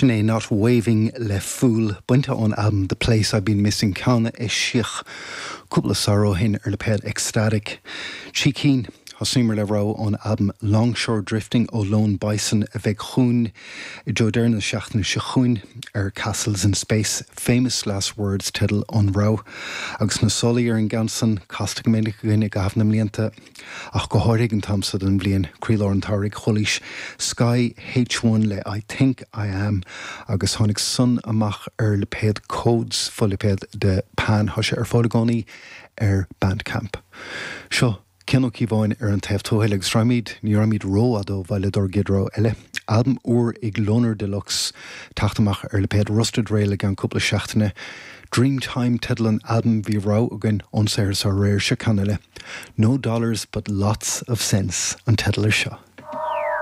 Sin é Not Waving le Fool, bainte ón albam The Place I've Been Missing, ceann a eisíodh cúpla samhradh ó shin ar lipéad Ecstatic. 3 cinn. Thosaíomar le rogha ón albam Longshore Drifting ó Lone Bison a bheidh chugainn i dtreo deireadh na seachtaine seo chugainn ar Castles in Space. Famous Last Words teideal an rogha. Agus na solaí ar an gceann san, casta go minic againn i gcaitheamh na mblianta. Ach go háirithe ag an t-am so den bhliain, croílár an tsamhraidh, chualaís Sky H1 le I Think I Am agus tháinig san amach ar lipéad Codes, fo-lipéad de Pan. Tá sé ar fáil i gcónaí ar Bandcamp. Seo Cian Ó Cíobháin ar an taobh tuathail agus raghaimid, ní raghaimid rófhada ó bhaile dár gcéad rogha eile. Albam úr ag Loner Deluxe teacht amach ar lipéad Rusted Rail i gceann cúpla seachtaine. Dreamtime teideal an albaim, bhí rogha againn ón saothar seo aréir, seo ceann eile. No Dollars But Lots of Sense an teideal ar seo.